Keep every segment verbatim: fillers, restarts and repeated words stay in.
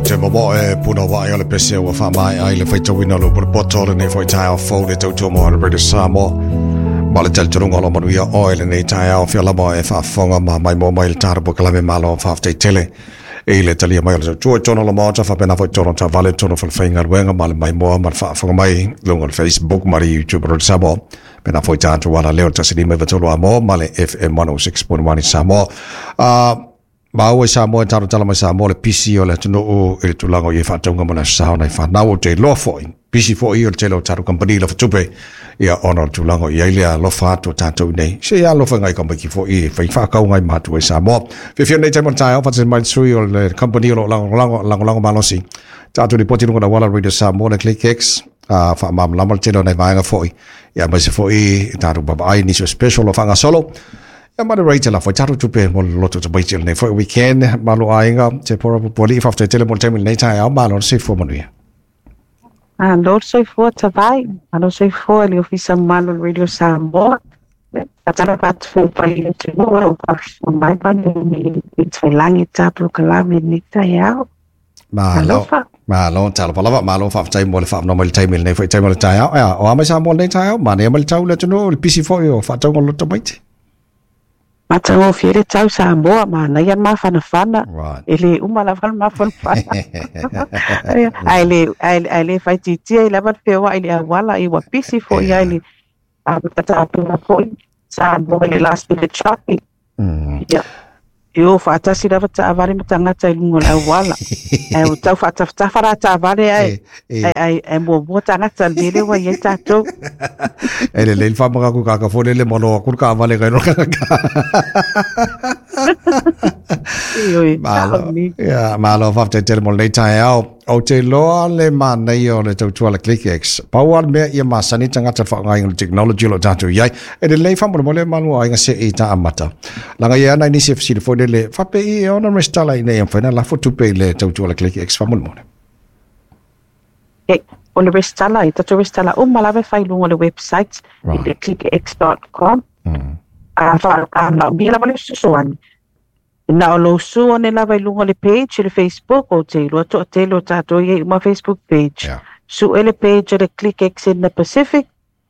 Te momo e puna wa o le pese ua wha mai ai le whaitawina lo pura poto le nei whai tae fau le tautua mo le Radio Samoa. Ma le talitonunga o lo manuia oe le nei tae ao whia lama e whaafonga ma mai mo mai le tārapo kalame malo whaaftai tele. E le talia mai o le tautua tono la maota whapena whai tono ta vale tono whalwhainga ruenga ma le mai moa ma le whaafonga mai lunga le Facebook ma le YouTube Radio Samoa. Pena whai tātu wala leo tasini mai vatolo a mo ma le F M one oh six point one i Samoa. Uh, Maua i Samoa, taro tala mai Samoa, le pisi o le atunuu i le tulaga o ie whaataunga mo le aso na i whanau o te loa foi. Pisi foi o le tele o taro kampani la whatupe ia ona o le tulaga o iai lea alofa atu o tātou nei. Se ia alofa ngai kampani foi i whai whaakau ngai mātua i Samoa. Whiwhia nei taimon tae au, whatasini mai sui o le kampani o lo lango lango, lango lango malosi. Tātou ni poti lunga na wala Radio Samoa le ClickX. Uh, wha mamlama le tele o nei vaenga foi. Ia mai se foi tātou baba ai nisio special o whangasolo. Ia mana rate la foi tātou tupe mo le loto te nei foi weekend malo aiga te pora poli whafte tele mo te nei tae au malo se fua manuia. Ah, Lord soifua tavai, malo soifua le ofisa malo Radio Samoa. Tatara pat fo pai le te moa o pa mai pa ni i tailangi tāplo kalame ni tai au. Malo, malo, talo palava, malo whaftai mo le whaafno mai le taimi nei foi taimi le tae au. Ea, o amai Samoa nei tae au, mane mai le tau le tunu, le pisi foi o whaataunga loto maite. Matangō whiere tau Samoa, ma nei an mawhanawhana. Right. E le uma lava le mawhanawhana. Ai le, ai le whaititia i lava whia i le awala i wapisi fo i ai le tata apuna foi Samoa i le last minute shopping. Mm. Yeah. I o whaatasi lava taavale matangata i lunga le awala. Ai o tau whaatawhatawhara taavale ai. Ai ai ai mua mua tangata lele wa iai tātou. E le leil whamaka ku kaka fone le mano akuru ka avale kai roka ka. Ioi, malo, ia, malo whafte tele mo lei tae au. O te loa le mānei o le tautua le ClickX. Pau al mea ia masani tangata whaangai le technology lo tātou iai. E le lei whamona mo le manua ainga se i tā amata. Langa ia ana inisi whasiri fo le whape i e ona restala i nei amwhaina lafo tupe i le tautua le ClickX whamona mo le. E, o le restala, i tātou restala o malawe whai lunga le website right. I le click x dot com. Mm. A wha, a na, mila wale susuani. Na o lo su ane lava i lunga le page le Facebook o te ilua toa te lo tātou i uma Facebook page. Yeah. Su ele page le ClickX in the Pacific.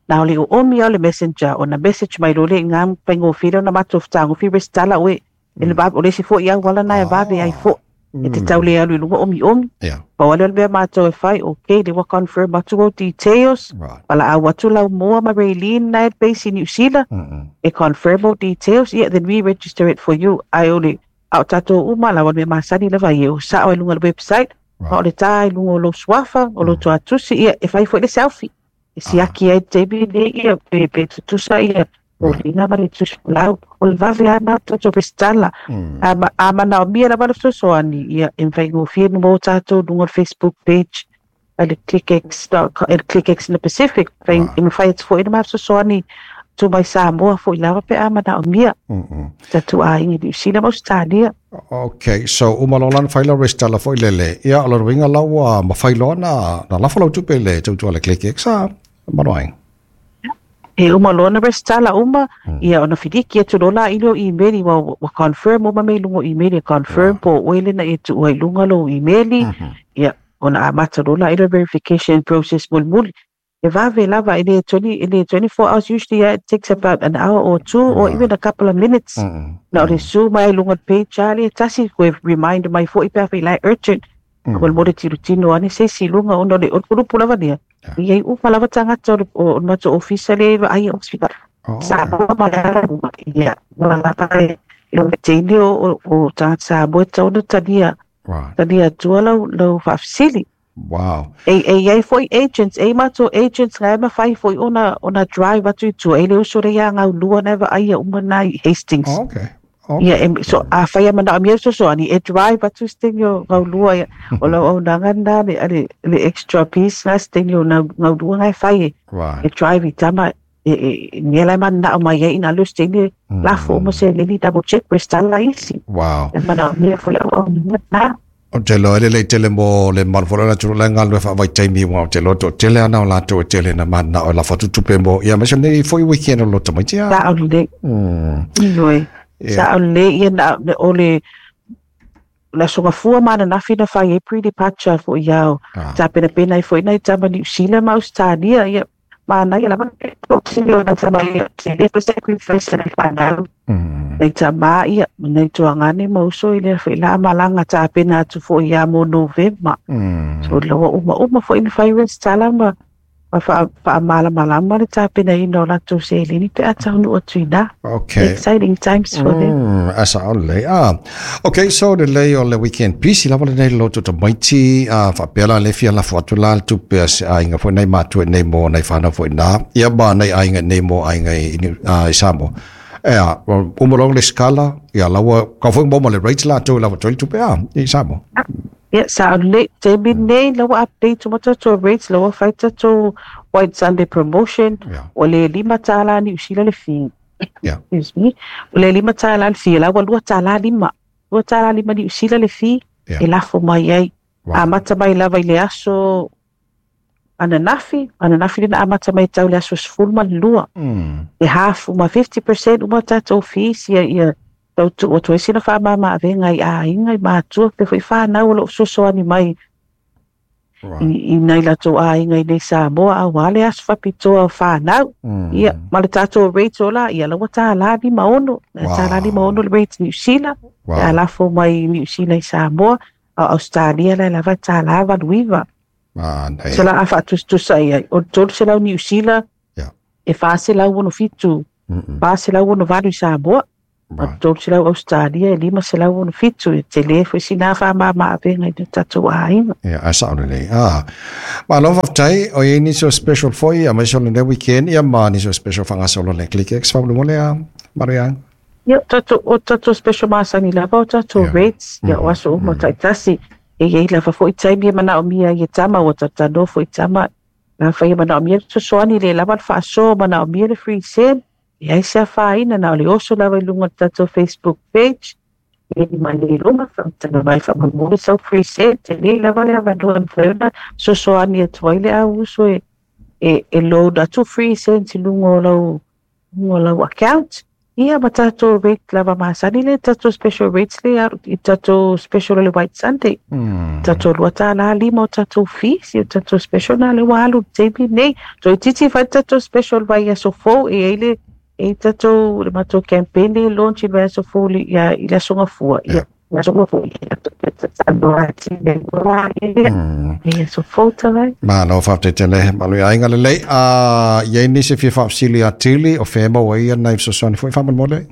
Na o le o omi o le messenger o na message mai lo le ngā paingo whira na mato whtango whira stala oe. E le o le si fo i au wala na e vave ai fo. E te tau le alu i lunga omi omi. Yeah. Pa wale ole mea mātou e whai, okay, le wa confirm atu o details. Right. Wala au atu lau moa ma Raylene na e base in New Zealand. Mm -mm. E confirm o details, yeah, then we register it for you. Ai ole, au tātou uma la wale masani lava i o sao e lunga le website. Right. Ma o le tā i lunga o lo swafa, o lo tuatusi, ia, e whai fo le selfie. E siaki ai tebi le ia, pe, pe tutusa ia. O lina ma le tusi lau, o le vave a nā tātou restala. Mm. A mana o mia lava le sosoani, ia, e mwhai ngō whienu mō tātou lunga le Facebook page, a le ClickX, le ClickX in the Pacific, Right. e mwhai atu fo ina maa sosoani, tū mai Samoa fo i lava pe a mana o mia. Tātou a ingi New Zealand Australia. Okay, so umalolan whaila restala fo i lele. Ia, o le ruinga lau ma whailoa na, na lafo lau tupe le tautua le ClickX a manoaing. E uma loa na restala uma, ia ona whiriki atu lola i leo email wa, wa confirm uma me lungo email, e confirm po oele na e tu ai lunga lo email, ia ona amata lola i leo verification process mulmuli. E vave lava i le twenty, i le twenty-four hours, usually yeah, it takes about an hour or two or Right. even a couple of minutes. Mm -mm. Na o le su mai lunga page ali, tasi koe remind mai fo i pea whai lai urgent. Mm. Ko mo le tirutino ane se si lunga ona le o lava nia. Yeah. Ia upa lava tangata o o mato ofisa le ai hospital. Oh, Sa ma la ia ma la pa e o te o o tangata sa bo tau tania right. tania tua lau lau whaafsili. Wow. E e ai foi agents, e mato agents ngai ma fai foi ona ona drive atu i tua e le uso re ia ngau lua na va ai uma na i Hastings. Oh, okay. Okay. Ia, em, so a whai mana o so so ani e drive atu stingio ngau lua ia o lau au nanga nā le, le, le extra piece nā stingio ngau, ngau lua ngai whai e, Right. e drive i tama e, e, nge lai mana o mai e ina lu stingio Mm. lafo o mo se lili double check restala isi. Wow. E mana o mea foi au au nā. O te loa ele le tele mo le marfola na tulu lenga lue whaawai taimi wa o te loa to tele ana o lato e tele na mana o la whatutupe mo. Ia mesa nei foi weekend o loto mai tia. Sa o le. Mm. Inoi. Yeah. Sa o le ia na o le le aso gafua ma ananafi na fai ai pre-departure fo'i ao Ah. tapenapena ai fo'i nai tama Niu Sila ma Ausetalia. Ia manaia lava ona tama ia le sacrifice na fanau Mm. nai tamā ia ma nai tuagane ma uso i lea fo'i la malaga tapena atu fo'i iā mo Novema. Mm. So la ua uma uma fo'i na fai resitala ma ma faamalamalama le tapenaina o latou seleni pe a taunuu atu inā. Okay. Exciting times for them. Mm, asa o lelei. Ah. Okay, so lelei o le weekend pisi lava lenei le loto tamaiti a faapea la le fia lafo atu la le tupe a se aiga foi nei matua nei mo nei whanau foi nā. Ia ma nei aiga nei mo aiga i, i, uh, i Samoa. Ea, uma loa le skala, ia laua, ka foi mo ma le rates la tau lava toi tupe a, i Samoa. Ia sa o le taimi nei la ua update uma tatou rates, la ua fai tatou White Sunday promotion. Yeah. O le lima tālā Niu Sila le fee. Yeah. Excuse me. O le lima tālā le fee, la ua lua tālā lima. Lua tālā lima Niu Sila le fee Yeah. e lafo mai ai. Wow. Amata mai lava i le aso ananafi, ananafi lena amata mai tau le aso sefulu ma le lua. Mm. E hafu ma fifty percent uma tatou fees ia ia tau tu'u atu ai sina faamama avega i aiga i matua pe fo'i fanau o lo'o fesoasoani mai Right. i, i nai latou aiga i nei Samoa auā le aso faapitoa o fanau. Mm. Ia, ma le tatou rate o la, ia la ua tālā lima ono. Wow. Tālā lima ono le rate Niu Sila. Wow. Ia lafo mai Niu Sila i Samoa. A Australia la lava tālā valu iva. Ah, nei. Se la a faatusatusa i ai. O le tolu selau Niu Sila, Yeah. e fa selau ono fitu. Mm-mm. Fa selau ono valu i Samoa. A Right. tolu selau Australia e lima selau ono fitu. E telē foi sina faamama avega i le tatou aiga. Ia, a sao lelei. Ah. Malo faafetai, o iai nisi o special foi, a maise o lenei weekend, ia ma nisi o special faagasolo le Click X faamolemole a Malo ia. Ia, tatou, o tatou special masani lava o tatou Yeah. rates, ia o aso uma taitasi. E iai lava fo'i taimi e manaomia ai e tama, ua tatanoa fo'i tama. Na fai e manaomia le fesoasoani le lava le faasoa manaomia le free send. E ai se afaina na o le oso lava i luga o le tatou Facebook page. E ni mai le luga, faamataga mai faamolemole sau free send. Telē lava le avanoa e mafai ona fesoasoani atu ai le au uso e, e, e load atu free send i luga o lau, luga o lau account. Ia ma tatou rate lava masani le tatou special rates le alu i tatou special o le White Sunday. Mm. Tatou lua tālā lima o tatou fees, ia tatou special na le ua alu i le taimi nei. Toeitiiti fai tatou special vai aso fou e ai le e tatou le matou campaign le launch i le vaiaso fou le ia i le aso gafua. Ia le aso gafua. Mm. Ia aso fou tavai. Malo faafetai tele Malo i aiga lelei. Ah, iai nisi fia faafesili atili o fea e maua ai ia nai fesoasoani foi faamolemole.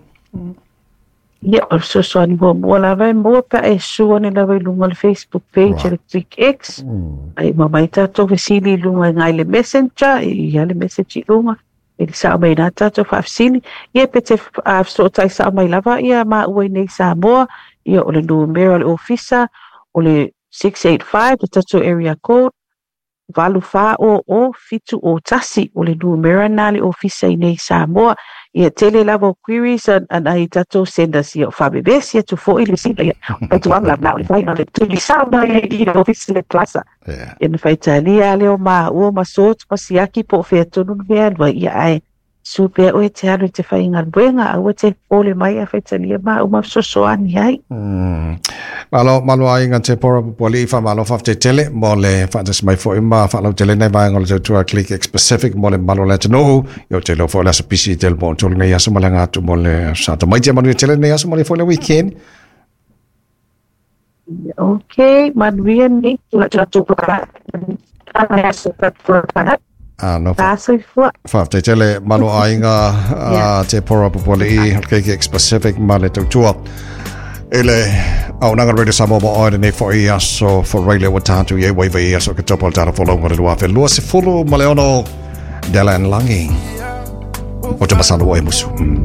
Ia, o le fesoasoani muamua lava e maua pe a e sua ane lava i luga o le Facebook page Right. a le Click X. Mm. Ai ma mai tatou fesili i luga i gai le Messenger, i ia le message i luga. E le sao mai nā tatou faafesili. Ia pe te uh, fesootai sao mai lava ia maua i nei Samoa. Ia o le numera o le ofisa o le six eight five, le tatou area code, valu fa o o fitu o tasi o le numera na le ofisa i nei Samoa. Ia tele lava o queries an, an ai tatou senders ia o faabebesi atu fo'i le sila ia. O tu ang na o le fai na le tuli sao mai i le ofisa le plaza. Yeah. Ia na faitalia lea o maua ma sot ma siaki po o fea tonu le mea alua ia ae su pea oe te alu i te faigaluega aua te pole mai a faitalia maua ma fesoasoani ai. Mm. Malo malo aiga te pora pupuali'i faamalo faafetai tele mo le faatasi mai fo'i ma faalautele nei vaega o le tautua Click X Pacific mo le malo le atunuu. Ia o te iloa foi o le aso pisi i tele mo tolu nei aso ma le aga atu mo le sa tamaiti a manuia tele nei aso ma le foi le weekend. Okay, manuia nei. Ah, no fa Soifua. faafetai tele malo aiga Yeah. a te pora pupuali'i o Click X Pacific ma le tautua i le auaunaga Radio Samoa mo oe lenei fo'i aso Faraile ua tatou i ai ua iva i aso Oketopa o le tala folauga o le lua afe lua sefulu ma le ono Dela and Langi o te masalo ua e musu. Mm.